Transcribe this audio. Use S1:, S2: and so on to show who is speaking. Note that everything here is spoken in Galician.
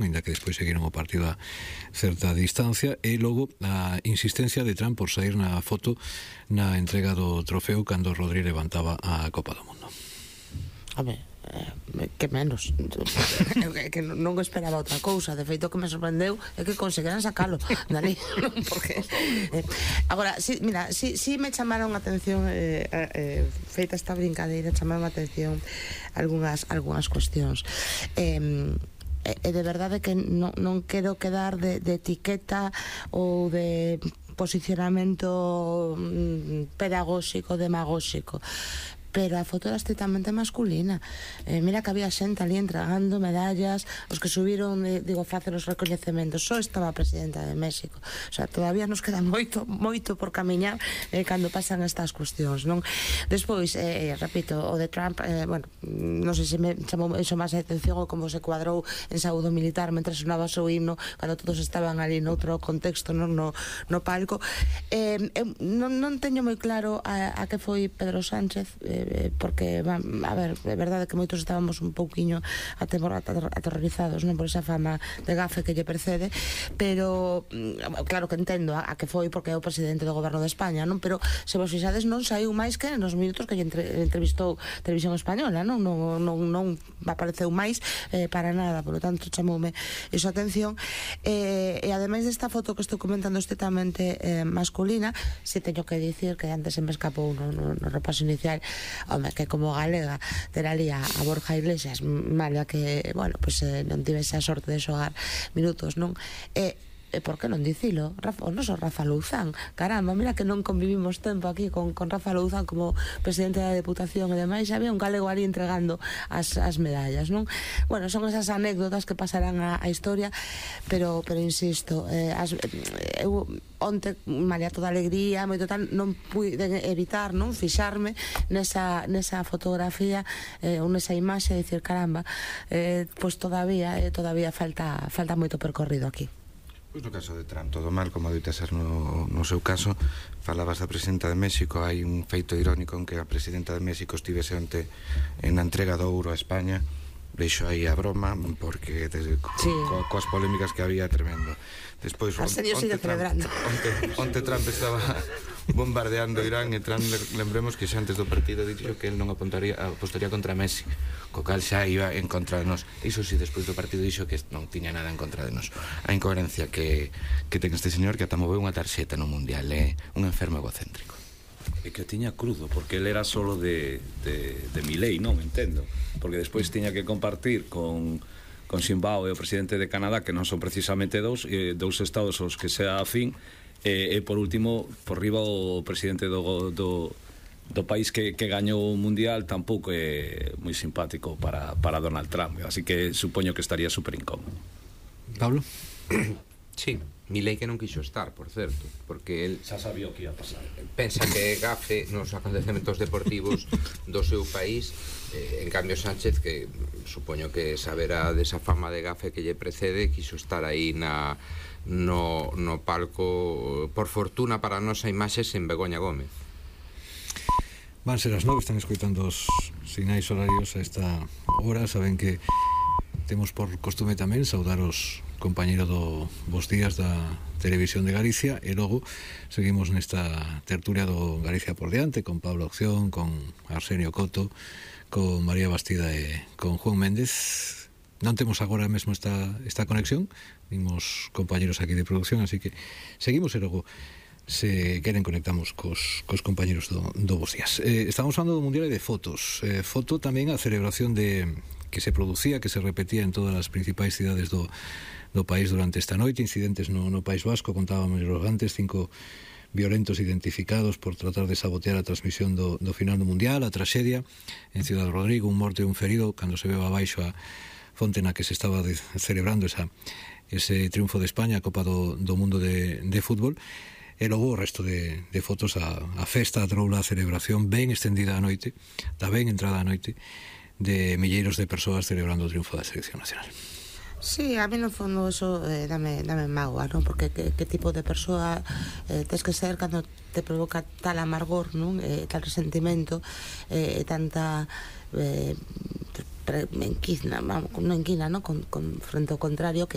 S1: ainda que despois seguiron o partido a certa distancia, e logo a insistencia de Trump por sair na foto na entrega do trofeo cando Rodri levantaba a Copa do Mundo.
S2: Home, que menos que non esperaba outra cousa. De feito, o que me sorprendeu é que conseguiran sacalo dali, porque agora, mira, si me chamaron a atención feita esta brincadeira, chamaron a atención algunhas cuestións. E de verdade que non quero quedar de etiqueta ou de posicionamento pedagóxico, demagóxico, pero a foto era estrictamente masculina. Mira que había xente ali entregando medallas, os que subiron, digo, facer os recoñecementos, só estaba a presidenta de México. O sea, todavía nos queda moito por camiñar cando pasan estas cuestións, non? Despois, repito, o de Trump, bueno, non sei se me chamou iso máis a atención ou como se cuadrou en saúdo militar mentre sonaba o seu himno, cando todos estaban ali noutro contexto, non no palco. Non teño moi claro a que foi Pedro Sánchez, porque, a ver, é verdade que moitos estábamos un pouquiño aterrorizados, non, por esa fama de gafe que lle precede, pero claro que entendo a que foi porque é o presidente do goberno de España, non? Pero se vos fixades non saiu máis que nos minutos que lle entrevistou Televisión Española, non apareceu máis para nada, por lo tanto chamoume iso a atención. E ademais desta foto que estou comentando estritamente masculina, se teño que dicir que antes se me escapou no repaso inicial, home, que como galega ter ali a Borja Iglesias, malia que, bueno, pues non tivese a sorte de xogar minutos, non? E por que non dicilo? O noso Rafa Louzán, caramba, mira que non convivimos tempo aquí con Rafa Louzán como presidente da Deputación e demais, había un galego ali entregando as medallas, non? Bueno, son esas anécdotas que pasarán a historia, pero insisto, eu onte, malia toda alegría, moito tal, non pude evitar, non, fixarme nesa fotografía ou nesa imaxe, e dicir, caramba, pois todavía falta moito percorrido aquí.
S3: Pois no caso de Trump todo mal, como adoita ser no seu caso. Falabas da presidenta de México, hai un feito irónico en que a presidenta de México estivese onte en a entrega do ouro a España. Deixo aí a broma, porque coas polémicas que había, tremendo. Despois, onte Trump estaba bombardeando Irán, e Trump, lembremos que xa antes do partido dixo que el non apostaría contra Messi, co cal xa iba en contra de nós. Iso si, despois do partido dixo que non tiña nada en contra de nós. A incoherencia que ten este señor, que ata moveu unha tarxeta no Mundial, é un enfermo egocéntrico.
S4: E que tiña crudo, porque ele era solo de Milei, non entendo, porque despois tiña que compartir con Zimbabue, o presidente de Canadá, que non son precisamente dous estados aos que sea afín, e por último, por riba o presidente do país que gañou o Mundial tampouco é moi simpático para Donald Trump, así que supoño que estaría super incómodo.
S1: Pablo?
S5: Sí, Milei que non quixo estar, por certo, porque el
S4: xa sabía o que ia pasar.
S5: Pensa que é gafe nos acontecementos deportivos do seu país, en cambio Sánchez, que supoño que saberá desa fama de gafe que lle precede, quixo estar aí no palco, por fortuna para a nosa imaxe, sen Begoña Gómez.
S1: Van ser as 9, están escoitando os sinais horarios a esta hora. Saben que temos por costume tamén saudar os compañeros do Bos Días da Televisión de Galicia, e logo seguimos nesta tertulia do Galicia por diante, con Pablo Acción, con Arsenio Coto, con María Bastida e con Juan Méndez. Non temos agora mesmo esta conexión, vimos compañeros aquí de producción, así que seguimos e logo, se queren, conectamos cos compañeros do Bos Días. Estamos falando do Mundial e de fotos. Foto tamén a celebración que se producía, que se repetía en todas as principais cidades do país durante esta noite. Incidentes no País Vasco, contábamos antes, 5 violentos identificados por tratar de sabotear a transmisión do final do Mundial. A traxedia en Ciudad Rodrigo, un morto e un ferido cando se veu abaixo a fonte na que se estaba celebrando ese triunfo de España, a Copa do Mundo de fútbol. E logo o resto de fotos, a festa, a troula, a celebración ben estendida a noite, da ben entrada a noite, de milleiros de persoas celebrando o triunfo da selección nacional.
S2: Sí, a mí no fondo eso dame mágoa, non? Porque que tipo de persoa tes que ser cando te provoca tal amargor, non? Tal resentimento, tanta enquina, non? Con frente ao contrario, que